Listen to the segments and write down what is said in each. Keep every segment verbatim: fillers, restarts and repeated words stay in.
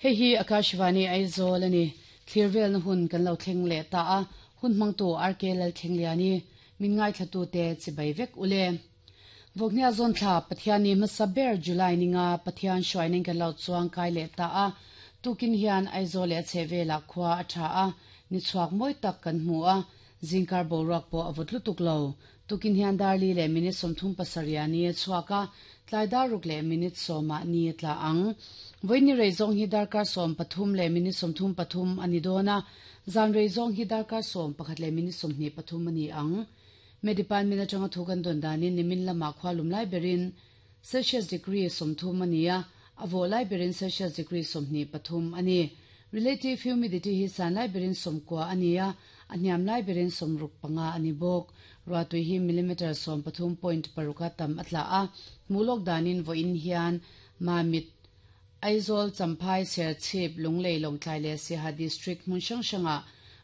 Hei hi Akashvani Aizawl ani Clearvel na hun kan lo thleng leh ta a hun hmangtu R K Lalthlengliani min ngai thlatu te chibai vek ule Voknia zon thla Pathiani hmasa ber July ninga Pathian hruainin kan lo chuang kai leh ta a tukin hian Aizawl leh chhevela khua a tha a ni chhuak mawi tak kan hmu a zingkar boruak pawh a vawt lutuk lo tukin hian darli leh minute sawmthum pasarih ni chhuaka tlai daruk leh minute sawma ni tla ang voini reizong hi darkar sawm pathum leh minute sawmthum pathum ani dona zan reizong hi darkar sawm pakhat leh minute sawmhnih pathum ani ang me department atanga thu kan don danin nimin lama khwalum lai berin Celsius degree sawmthum ania avo lai berin Celsius degree sawmhnih pathum ani relative humidity hi san lai berin sawmkua ania aniam lai berin sawmruk panga ani bawk ruatui hi millimeter sawm pathum point paruka tam atla a mulok danin vo in hian mamit Aizawl Champhai Serchhip Lunglei Lawngtlai leh Siaha district hmun hrang hranga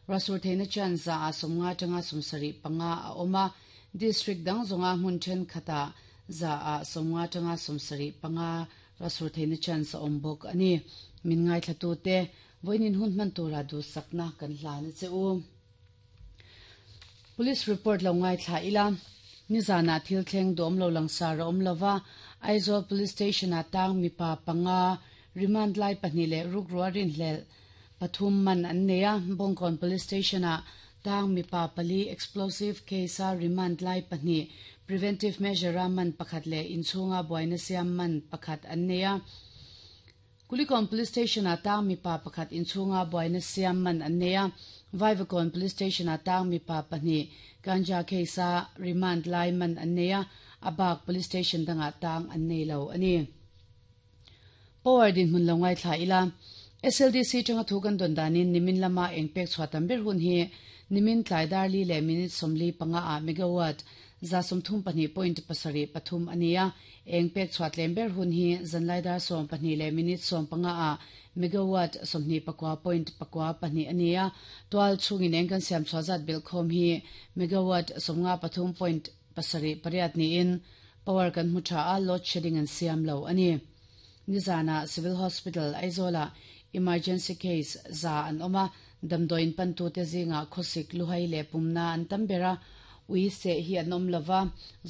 rasur theihna chan za a sawmnga tanga sawmsarih panga a awm a district dang zawnga hmun thenkhatah za a sawmnga tanga sawmsarih panga rasur theihna chan sa awm bawk ani min ngai thlatu te voinin hun hman tura du sakna kan hlana che u Police report lo ngai thla ila nizana thil thleng dawm lo langsar a awm lova Aizawl Police Station a tang mipa panga remand lai pahnih leh ruk ruarin hlel pathum man an nei a Bawngkawn Police Station a tang mipa pali explosive case a remand lai pahnih preventive measure a man pakhat leh inchhunga buaina siam man pakhat an nei a Kulikawn Police Station a tang mipa pakhat inchhunga buaina siam man an nei a Vaivakawn Police Station a tang mipa pahnih ganja case a remand lai man an nei a abak Police Station danga tang an nei lo ani Power din hun lo ngai thla ila S L D C tanga thu kan don danin nimin lama engpek chhuatam ber hun hi nimin tlai darli le minute somli panga a megawatt za somthum pahnih point pasarih pathum ania engpek chhuatlem ber hun hi zanlai dar som pahnih le minute som panga a megawatt somhnih pakua point pakua pahnih ania twal chungin eng kan siam chhuazat bil khom hi megawatt somnga pathum point pasarih pariat ni in power kan mu tha a load shedding an siam lo ani nizana Civil Hospital Aizola emergency case za an oma damdoin pantu te zinga khosik luhai le pumna an tambera ui se hi anom lova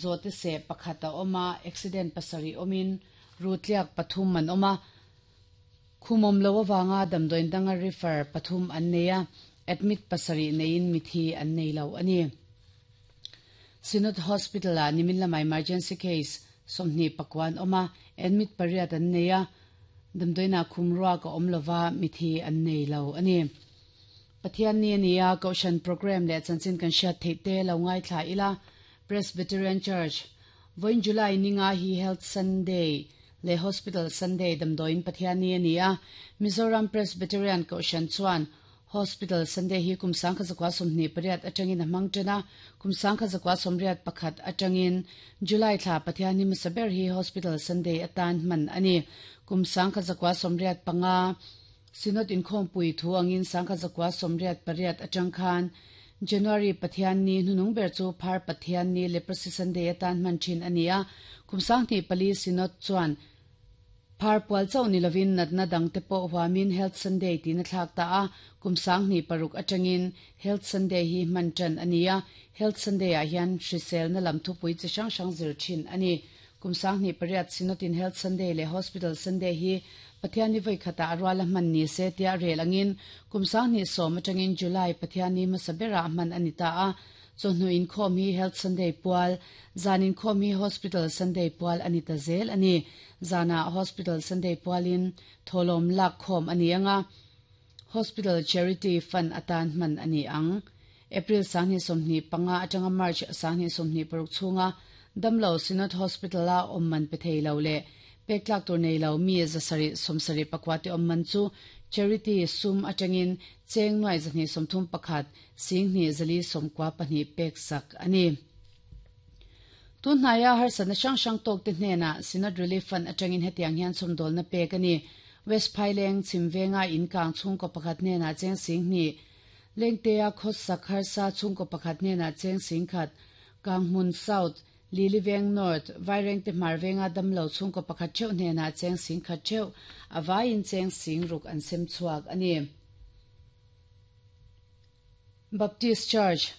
zote se pakhata oma accident pasari omin rutliak pathum man oma khumom lo wanga damdoin danga refer pathum an neya admit pasari nein mithi an nei lo ani Synod Hospital a nimin lama emergency case somni pakwan oma admit pariat an neya damdoina khumruwa ka omlova mithi an nei lo ani Pathian ni ania Koshan program le chanchin kan sha theite lo ngai thla ila Presbyterian Church voin July ninga hi Health Sunday le Hospital Sunday damdoin Pathian ni ania Mizoram Presbyterian Koshan chuan Hospital Sunday hi kumsang kha zakwa somni pariat atangin mangtena kumsang kha zakwa somriat pakhat atangin July thla Pathian ni masaber hi Hospital Sunday atan man ani kumsang kha zakwa somriat panga Synod in khom pui thu angin sangkha zakwa somriat pariat atang khan January Pathian ni hnunung ber chu phar Pathian ni leprosy Sunday atan man thin ania kumsang ni pali Synod chuan phar pual chau ni lovin natna dang te po huamin Health Sunday ti na thlak ta a kumsang ni paruk atangin Health Sunday hi man tran ania Health Sunday a hian hrisel na lam thu pui chi hrang hrang zir thin ani kumsang ni pariat Synod in Health Sunday le Hospital Sunday hi Pathian ni voi khata arwala man ni se tia rel angin kumsang ni som atangin July Pathian ni masabera man anita a chonu in khom hi Health Sunday pual zanin khom hi Hospital Sunday pual anita zel ani zana Hospital Sunday pualin tholom lak khom ani anga Hospital Charity Fund atan man ani ang April sangni somni panga atanga March sangni somni paruk chunga damlo Synod Hospital a omman pe thei lo le peklak tur nei lo mi zasari somsari pakwati omman chu charity sum atangin cheng noi zani somthum pakhat singni zali somkwa pahni pek sak ani tun hnaya har sana sang sang tok te hnena Synod Relief Fund atangin hetiang hian somdol na pek ani West Phaileng chimvenga in kang chung ko pakhat ne na cheng singni lengtea khos sakhar sa chung ko pakhat ne na cheng singkhat Kanghmun South Lily Veng North, Vairengte Hmar Venga damlo chhungkaw pakhat theuh hnenah cheng sing khat theuh, a vaiin cheng sing ruk an sem chhuak a ni. Baptist Church,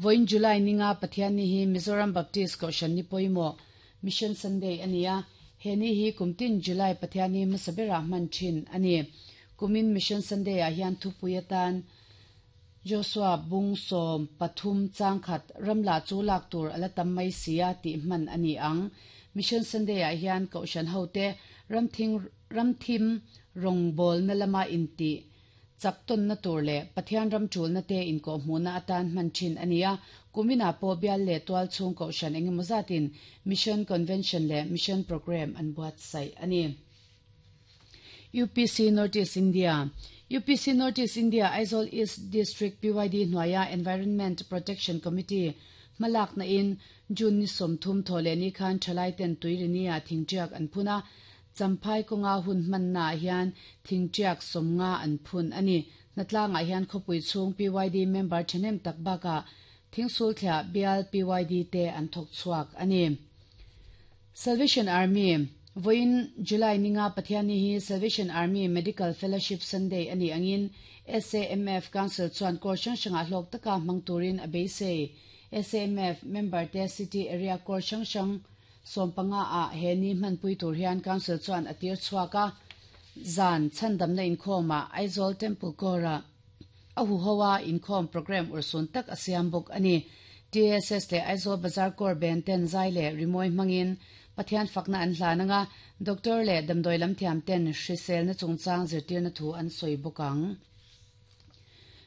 Vawiin July ninga Pathianni hi Mizoram Baptist Kohhran ni pawimawh, Mission Sunday a ni a, he ni hi kumtin July Pathianni hmasa berah hman thin a ni. Kumin Mission Sunday ah hian thupui atan Joshua bung sawm pathum changkhat ramla chu lak tur ala tam mai sia tih hman a ni ang. Mission Sunday ah hian Kohhran hote ramthing ramthim rawngbawlna lama intih chak tawnna tur leh Pathian ram tulna te inkawhhmuhna atan hman thin a ni a. Kuminah pawh bial leh tual chhung Kohhran engemaw zatin Mission Convention leh Mission Programme an buatsaih a ni. U P C North East India, U P C North East India Aizawl East District P Y D hnuaia Environment Protection Committee hmalakna in June ni sawmthum thaw leh ni khan thalai ten tuirinia thingtiak an phun a, Champhai kawnga hun hmanna ah hian thingtiak sawmnga an phun a ni. Hnatlangah hian khawpui chhung P Y D member thahnem tak bakah thingsulthliah bial P Y D te an thawk chhuak a ni. Salvation Army, Vawiin July ninga Pathianni hi Salvation Army Medical Fellowship Sunday a nih angin S A M F Council chuan court hrang hrangah hlawk taka hmang turin a beisei. S A M F member te City Area Court hrang hrang sawm panga ah he ni hmanpui tur hian Council chuan a tir chhuak a, zan chhandamna inkhawmah Aizawl Temple Corps-ah a huho a inkhawm programme urhsun tak a siam bawk a ni. T S S leh Aizawl Bazar Corps band ten zai leh rimawi hmangin Pathian fakna an hlan anga, doctor leh damdawi lam thiam ten hriselna chungchang zirtirna thu an sawi bawk ang.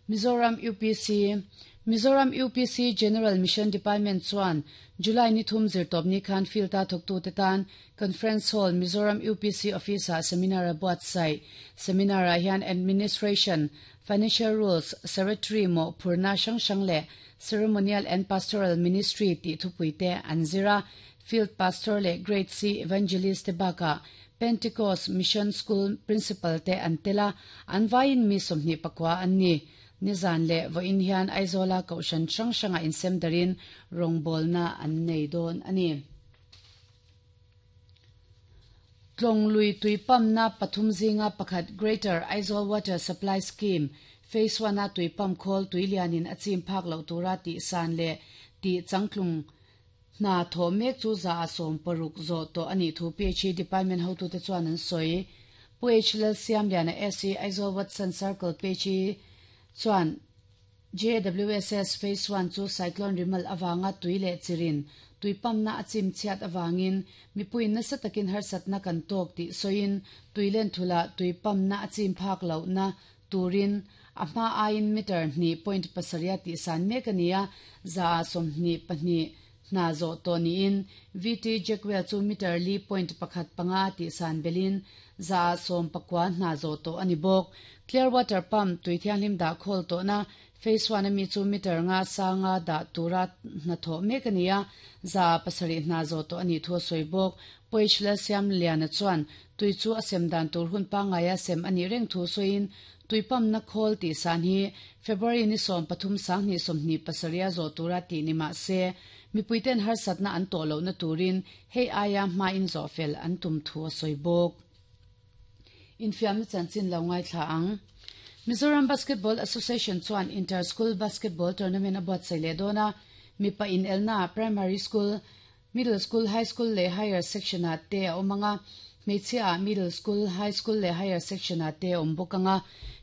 Mizoram U P C, Mizoram U P C General Mission Department chuan July ni thum zirtawpni khan field a thawktu te tan Conference Hall Mizoram U P C Office ah seminar a buatsaih. Seminar ah hian Administration, Financial Rules, Secretary mawh phurna hrang hrang leh Ceremonial and Pastoral Ministry tih thupui te an zir a, Field Pastor leh Grade C Evangelist te bakah Pentecost Mission School Principal te an tel a, an vaiin mi sawmhnih pakua an ni. Nizan leh vawiin hian Aizawla Kohhran hrang hrangah insem darin rawngbawlna an nei dawn a ni. Tlawng lui tuipamna pathum zinga pakhat Greater Aizawl Water Supply Scheme Phase one a tuipam khawl tuilianin a chim phak loh tura tih san leh tih changtlung hna thaw mek chu za a sawm paruk zawh tawh a nih thu P H E Department hotute chuan an sawi. Pu H Lal Siamliana S E Aizawl Watson Circle P H E chuan J W S S Phase one chu Cyclone Rimal awanga tui leh chirin tuipamna a chim chhiat awangin mipuiin nasa takin harsatna kan tawk tih sawiin tuilen thula tuipamna a chim phak lohna turin a hma aiin meter hnih point pasarih tih san mek a ni a, za a sawmhnih pahnih hna zawh tawh niin V T Jackwell chu meter li point pakhat panga tih san belin za a sawm pakua hna zawh tawh a ni bawk. Clear water pump tui thianghlim dah khawl tawhna Phase one ami chu meter nga sanga dah tura hna thawh mek a ni a, za a pasarih hna zawh tawh a nih thu a sawi bawk. Pu H Lal Siamliana chuan tui chu a sem dan tur hun pangngaia sem a nih reng thu sawiin tuipamna khawl tih san hi February ni sawm pathum sanghnih sawmhnih pasarih a zawh tura tih ni mah se mipuiten harsatna an tawh lohna turin hei aia hmain zawh fel an tum thu a sawi bawk. Infiamna chanchin lo ngaithla ang. Mizoram Basketball Association chuan Inter-School Basketball Tournament a buatsaih leh dawn a, mipa in elna Primary School, Middle School, High School leh Higher Section ah te a awm anga, hmeichhia ah Middle School, High School leh Higher Section ah te a awm bawk anga,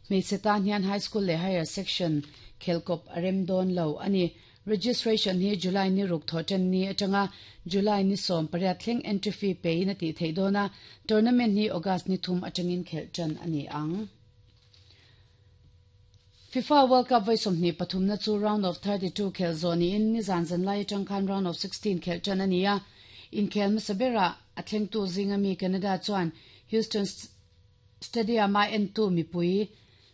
hmeichhe tan hian High School leh Higher Section khelkawp a rem dawn lo a ni. Registration hi July ni ruk thaw ten ni atanga July ni sawm pariat thleng entry fee pe in a tih theih dawn a, tournament hi August ni thum atangin khelh tan a ni ang. FIFA World Cup vawi sawmhnih pathumna chu round of thirty two khelh zawh niin nizan zanlai atang khan round of sixteen khelh tan a ni a, inkhel hmasa berah a thlengtu zinga mi Canada chuan Houston Stadium a entu mipui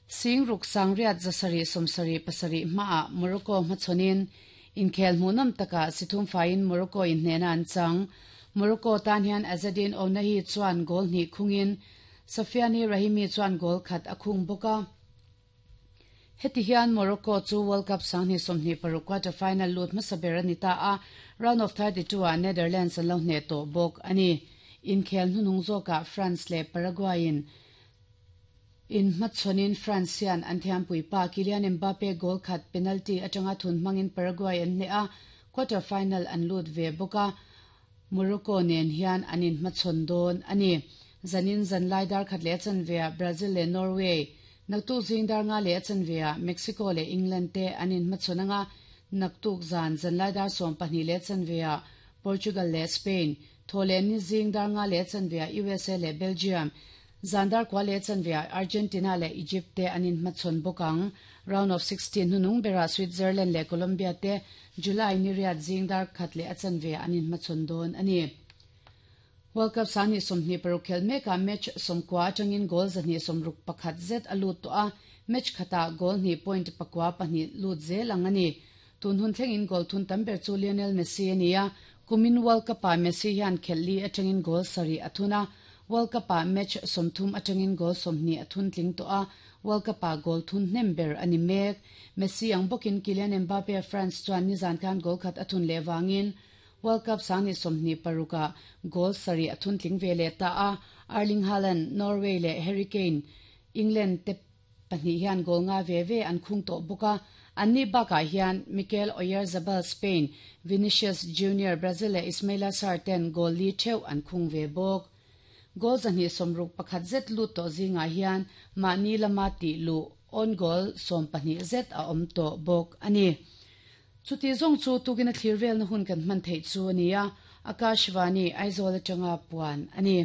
sing ruk sangriat zasarih sawmsarih pasarih hmaah Morocco hmachhawnin inkhel hmuhnawm takah sithum faiin Morocco in hnena an chang. Morocco tan hian Azzedine Ounahi chuan goal hnih khungin Sofiane Rahimi chuan goal khat a khung bawk a. Heti hian Morocco chu World Cup sanghnih sawmhnih paruk quarter final lut hmasa ber a ni ta a, round of thirty two ah Netherlands an lo hneh tawh bawk a ni. Inkhel hnuhnung zawkah France leh Paraguay in inhmachhawnin France hian an thiampui pa Kylian Mbappe goal khat penalty atanga thun hmangin Paraguay an hneh a, quarter final an lut ve bawk a, Morocco nen hian an inhmachhawn dawn a ni. Zanin zanlai dar khat leh a chanveah Brazil leh Norway, naktuk zing dar nga leh a chanveah Mexico leh England te an inhmachhawn anga, naktuk zan zanlai dar sawm pahnih leh a chanveah Portugal leh Spain, thaw leh ni zing dar nga leh a chanveah U S A leh Belgium, zan dar kua leh a chanveah Argentina leh Egypt te an inhmachhawn bawk ang. Round of sixteen hnunung berah Switzerland leh Colombia te July ni riat zing dar khat leh a chanveah an inhmachhawn dawn a ni. World Cup sanghnih sawmhnih paruk khel mekah match sawmkua atangin goal zahnih sawmruk pakhat zet a lut tawh a, match khatah goal hnih point pakua pahnih lut zel ang a ni. Tun hun thlengin goal thun tam ber chu Lionel Messi a ni a, kumin World Cup-ah Messi hian khelh li atangin goal sarih a thun a, World Cup-ah match sawmthum atangin goal sawmhnih a thun tling tawh a, World Cup-ah goal thun hnem ber a ni mek. Messi ang bawkin Kylian Mbappe France chuan nizan khan goal khat a thun leh vangin World Cup sanghnih sawmhnih parukah goal sarih a thun tling ve leh ta a, Erling Haaland, Norway leh Harry Kane, England te pahnih hian goal nga ve ve an khung tawh bawk a, anni bakah hian Mikel Oyarzabal Spain, Vinicius Junior Brazil leh Ismaila Sarr ten goal li theuh an khung ve bawk. Goal zahnih sawmruk pakhat zet lut tawh zingah hian mahni lama tih luh own goal sawm pahnih zet a awm tawh bawk a ni. Chuti zawng chu tukin a thlir velna hun kan hman theih chu a ni a, Akashvani Aizawl atanga puan a ni.